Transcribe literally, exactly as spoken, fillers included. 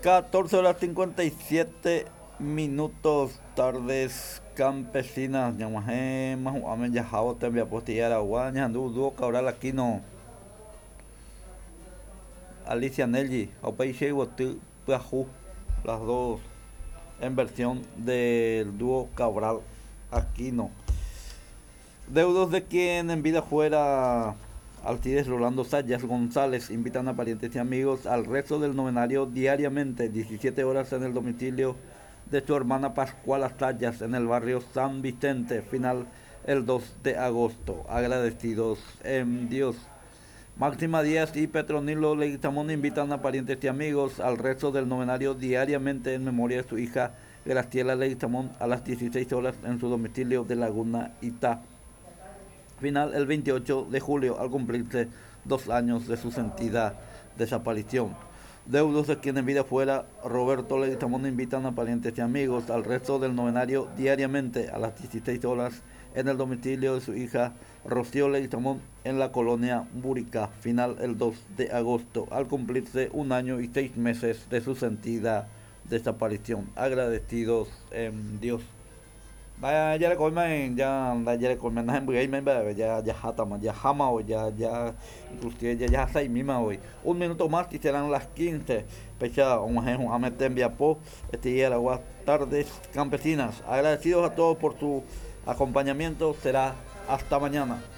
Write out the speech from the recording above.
catorce horas cincuenta y siete minutos, tardes campesinas. Ñag̃uahẽma hu'ãme jahávo tembiapo aragua ñahendu dúo Cabral Aquino, Alicia Nelly ha upéi Che Yvoty Pyahu, las dos en versión del dúo Cabral Aquino. Deudos de quien en vida fuera Alcides Rolando Sayas González invitan a parientes y amigos al rezo del novenario diariamente, diecisiete horas, en el domicilio de su hermana Pascuala Sayas en el barrio San Vicente, final el dos de agosto. Agradecidos en Dios. Máxima Díaz y Petronilo Leguizamón invitan a parientes y amigos al rezo del novenario diariamente en memoria de su hija Graciela Leguizamón a las dieciséis horas en su domicilio de Laguna Itá. Final el veintiocho de julio, al cumplirse dos años de su sentida desaparición. Deudos de quien en vida fuera Roberto Leguizamón invitan a parientes y amigos al rezo del novenario diariamente a las dieciséis horas en el domicilio de su hija Rocío Leguizamón en la colonia Burica. Final el dos de agosto, al cumplirse un año y seis meses de su sentida desaparición. Agradecidos en Dios. Vaya, ya le comen, ya, ya le comen, ya, ya, ya, jama hoy, ya, ya, inclusive ya, ya seis misma hoy. Un minuto más y serán las quince. Pecha, un tembiapo, este día las tardes campesinas. Agradecidos a todos por su acompañamiento. Será hasta mañana.